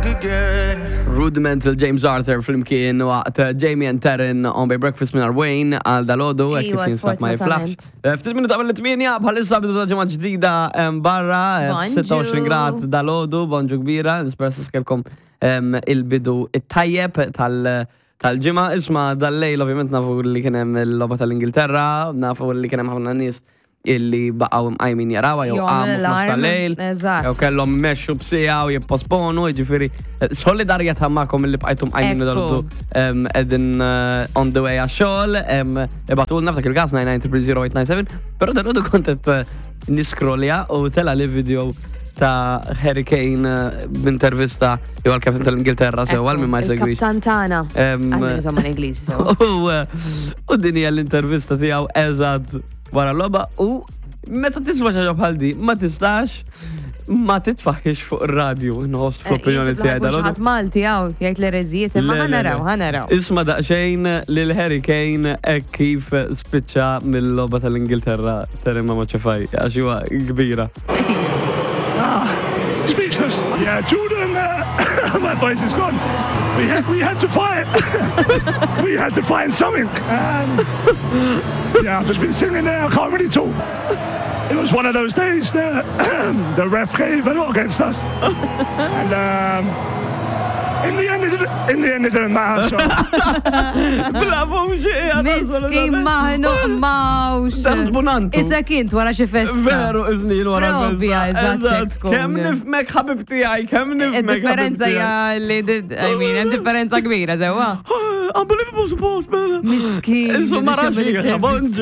back again. Rudimental James Arthur flimkien waqt Jamie and Taryn on by Breakfast minn Wayne għal dalodu hekk kif Iwa, jinsab ma jiflaħx. sfortunatament. Ftit minuta qabel it-tmienja bħalissa bidu ta' ġimgħa ġdida barra, Bonġu. 26 grad dalodu, bonġu kbira, nispera kelkom il-bidu it-tajjeb tal-ġimgħa. Isma' dal-lejl ovvjament nafu li kien hemm il-logħba tal-Ingilterra, nafu li kien hemm ħafna nies illi baqgħu mqajmin jarawha jew Jew qamu għamlu f'nofs l-alarm, tal-lejl. eżatt. Jew kellhom imexxu b'siegħa u jipposponu, jiġifieri solidarjetà magħkom illi bqajtu mqajmin Ekku. dalodu qegħdin on the way għax-xogħol, ibagħtulna f'dak il-każ 9930897, però dalodu kont qed niskrolja u tela li video ta' Harry Kane b'intervista jew għal-kaptan tal-Ingilterra sew għal min ma jsegwix. Il-kaptan tagħna. Għandna insomma l-Ingliżi sew. U din hija l-intervista tiegħu eżatt wara l-logħba u meta tisma' xi ħaġa bħal di ma tistax ma titfaħħix fuq ir-radju nħoss fl-opinjoni tiegħi dalodu. Ħadd Malti hawn jgħid l-ereżijiet imma Le, le, le. ħanaraw, ħanaraw. Isma daqsxejn lil Harry Kane hekk kif spiċċa mill-logħba tal-Ingilterra Terima Maċefaj għax huwa kbira. Ah, speechless. Yeah, Jordan, my voice is gone. We had to fight. We had to find something. And yeah, I've just been sitting there. I can't really talk. It was one of those days that the ref gave a lot against us. And in the end, it didn't, in the end, it didn't matter. So. Bla vuċi! Miskin maħnu mawx. Taħsbu nantu. Issa kint wara xi festa. Veru, iżnil wara Propja, festa. eżatt, hekk tkun. Kemm nifmek ħabib tiegħi, kemm nifmek. ħabib Differenza tiegħi. hija li, I mean, hemm differenza kbira sewwa. Unbelievable support, man. Miskin. Insomma, biex jagħmel raxi, intervista. bonġu.